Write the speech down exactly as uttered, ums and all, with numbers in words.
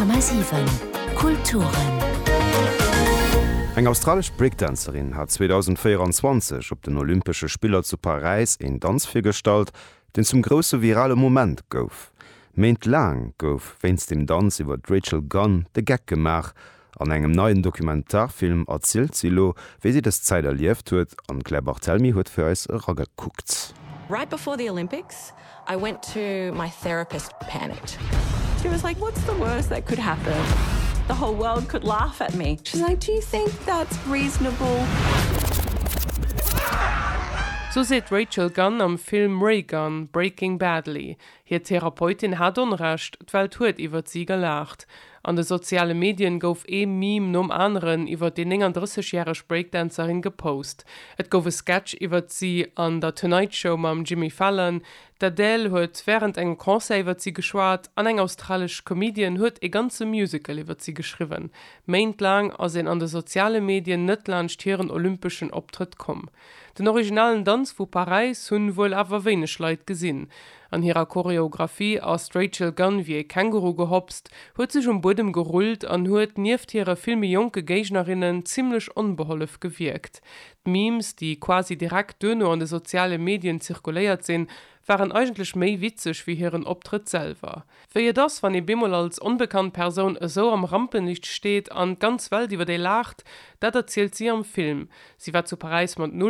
Komma siwen Kulturen. Eng australesch Breakdancerin hat zweedausendvéieranzwanzeg op den Olympesche Spiller zu Paräis een Danz virgestallt, deen zum grousse virale Moment gouf. Méintlaang gouf wéinst dem Danz iwwer d'Rachel Gunn de Geck gemaach. An engem neien Dokumentarfilm erzielt si elo, wéi si dës Zäit erlieft huet, an d'Claire Barthelmy huet fir eis eragekuckt. Right before the Olympics, I went to my therapist panicked. She was like, "What's the worst that could happen? The whole world could laugh at me." She's like, "Do you think that's reasonable?" Sou seet d'Rachel Gunn am Film Raygun, Breaking Badly. Hir Therapeutin hat Onrecht, d'Welt huet iwwer si gelaacht. An de soziale Medien gouf ee Meme nom aneren iwwer déi nénganddrësseg-järeg Breakdancerin gepost. Et gouf e Sketch iwwer si an der Tonight Show mam Jimmy Fallon, d'Adele huet wärend engem Concert iwwer si geschwat an eng australesch Comedian huet e ganze Musical iwwer si geschriwwen. Méintlaang ass een an de soziale Medien net laanscht hiren olympeschen Optrëtt komm. Den originalen Danz vu Paräis hunn wuel awer wéineg Leit gesinn. An hirer Choreographie ass d'Rachel Gunn wéi e Känguru gehopst, huet sech um Buedem gerullt an huet nieft hire vill méi jonke Géignerinnen zimmlech onbehollef gewierkt. D'Memes, déi quasi direkt duerno an de soziale Medien zirkuléiert sinn, waren eigentlech méi witzeg wéi hiren Optrëtt selwer. Wéi et ass, wann ee bemol als onbekannt Persoun esou am Rampenlicht steet an d'ganz Welt iwwer ee laacht, dat erzielt si am Film. Si war zu Paräis mat null